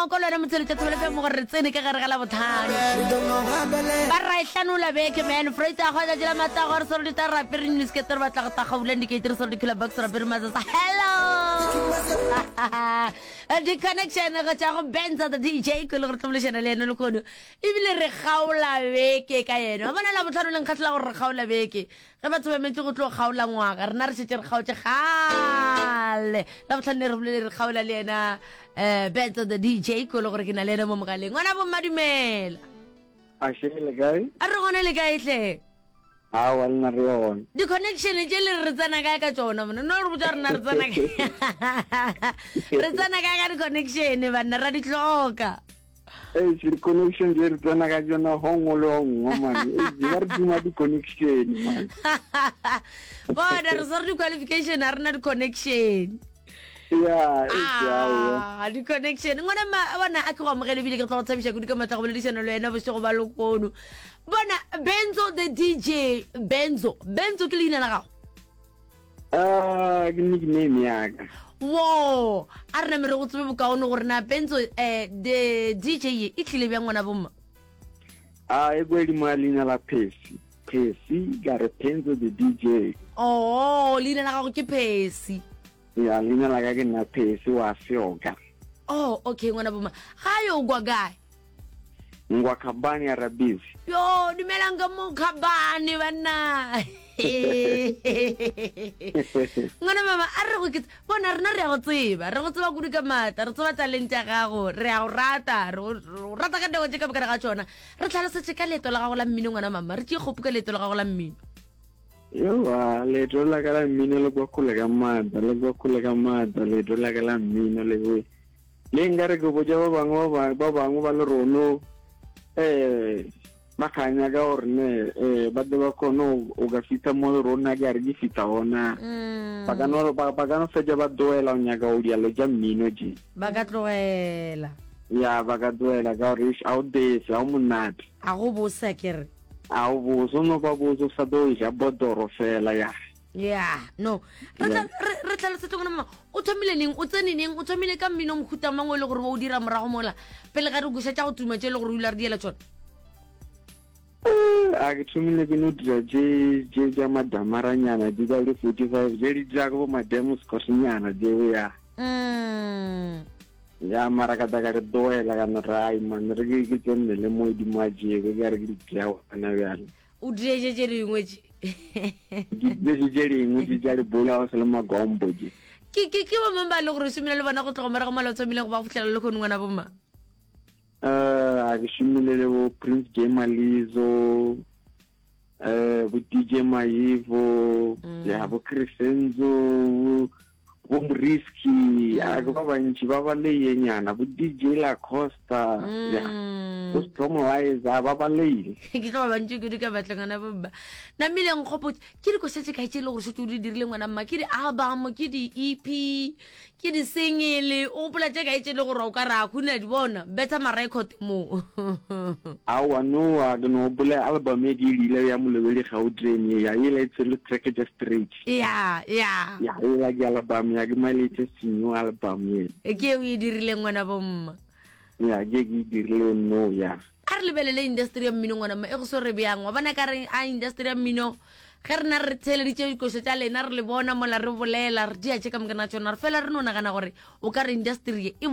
go kwa le wena motsweletse thobele fm gore re tsene ka gare ga la botlhano. Ba ra e hlanola beke man. Freita go tšatši la matago re swere ditarape re nniskete re batla go tagaulang dikeiti re swere dikhula box rapere matsatsa. Hello. Di-connection go tšwa go Benza the DJ ko le gore tlo bolešana le yena lehono ebile re kgaola beke ka yena. Wa bona la botlhano le nkgahlela gore re kgaola beke. Ge batho ba emetše go tlo kgaola ngwaga, rena re šetše re kgaotše kgale. La botlhano ne re bolele re kgaola le yena um Benza the DJ ko le gore ke na le yena mo mogaleng. Ngwana bomma dumela. Ashe le kae? A re gona le kae hle? Aowa le na re gona. Di-connection tše le re re tsena kae ka tšona mona? No re botša rena re tsena kae? Re tsena kae ka di-connection banna ra di hloka. Eish di-connection tše re tsena ka tšona gongwe le gongwe man. Eish ba re duma di-connection man. Bona re swere di-qualification a rena di-connection. Ya, eish aowa. Ah, di-connection ngwana ma bona a ke go amogele ebile ke tlo go thabiša kudu ka matla go boledišana le wena bošego ba lekono bona benzo the dj benzo benzo ke leina la gago Ah, ke nickname ya ka. Wo, a re name re go tsebe bokaone gore na Benzo eh, the DJ ye e tlile bjang ngwana bomma? A e kwedi mo leina la Phesi. Phesi ka re Penzo the DJ. Oh, leina la gago ke Phesi. Ya, leina la ka ke nna Phesi wa Seoka. Oh, okay ngwana bomma. Ga yo kwa kae? Ngwa Khabane ya Rabisi. Yo, dumelang ka mo Khabane banna. Ngwana mama a re go ke bona rena re ya go tseba, re go tseba kudu ka maatla, re tseba talente ya gago, re ya go rata, re go rata ka nako tše ka mokana ga tšona. Re tlhalosetše ka leeto la gago la mmino ngwana mama, re tšee kgopu ka leeto la gago la mmino. Yowa, leeto la ka la mmino le kwa kgole ka maatla, le kwa kgole ka maatla, leeto la ka la mmino le Le nkare ke botša ba bangwe ba ba bangwe ba le rono eh ba kganya ka gore ne eh ba tle ba kgone o ka fihla mo le rona ke a re ke fihla gona mm. ba ka no ba ka no fetša ba tloela o nyaka o dialo tša mmino tše ba ka tloela ya ba ka tloela ka gore a o dese a o monate a go bose ke re a o bose o no ba bose o sa tlo ja botoro fela ya ya no re tla re tlhalosetse gona mama o thomile neng o tsene neng o thomile ka mmino mohuta mang o e le gore o dira morago mola pele ga re koša tša go tuma tše e le gore o ile re diela tsone eh, a ke thomile ke no dira tše tše tša madamaranyana di ka le 45 tše di dira go mademo scotnyana tšeo ya mm. ya mara ka tla ka re tloela ka no rai man re ke ke tsenne le mo di mo tšeo ke re ke di tšea gona bjale O dietše tše dingwe tše. Ke dietše tše dingwe tše tša lebola go se le magombo tše. Ke ke ke bomang ba e le gore o šomile le bona go tloga morago mola o thomile go ba go fihlela le kgone ngwana bomma? Eh, a ke šomile le bo Prince J Malizo, eh bo DJ Mayivo, mm. ya bo Crescenzo, bo Moriski, a ke ba bantši ba ba leyenyana, bo DJ La Costa, mm. ya, bo Stromlizer, ba ba leile. Ke tlo ba bantši kudu ka batla ngwana bomma. Namile nkgopotse, ke dikoša tše kae tše e le gore šetse o di dirile ngwana mma? Ke di-album, ke di-EP, ke di-single, o gopola tše kae tše e le gore o ka re a khuna di bona, betha ma-record mo. Aowa no, a ke no gopola album e ke e dirile ya Molebedi Gautrain ye, ya yela e tshwere track tša straight. Ya, ya. Ya, ela ke album ya ke my latest new album ye. E ke o e dirileng ngwana bomma. Ya, ke ke e dirile no ya. A re lebelele industry ya mmino ngwana mma e go swere bjang. Wa bona ka re a industry ya mmino ge rena re theeleditše dikošo tša lena re le bona mola re bolela re dia tše ka moka na tšona re fela re no nagana gore o ka re industry ye e.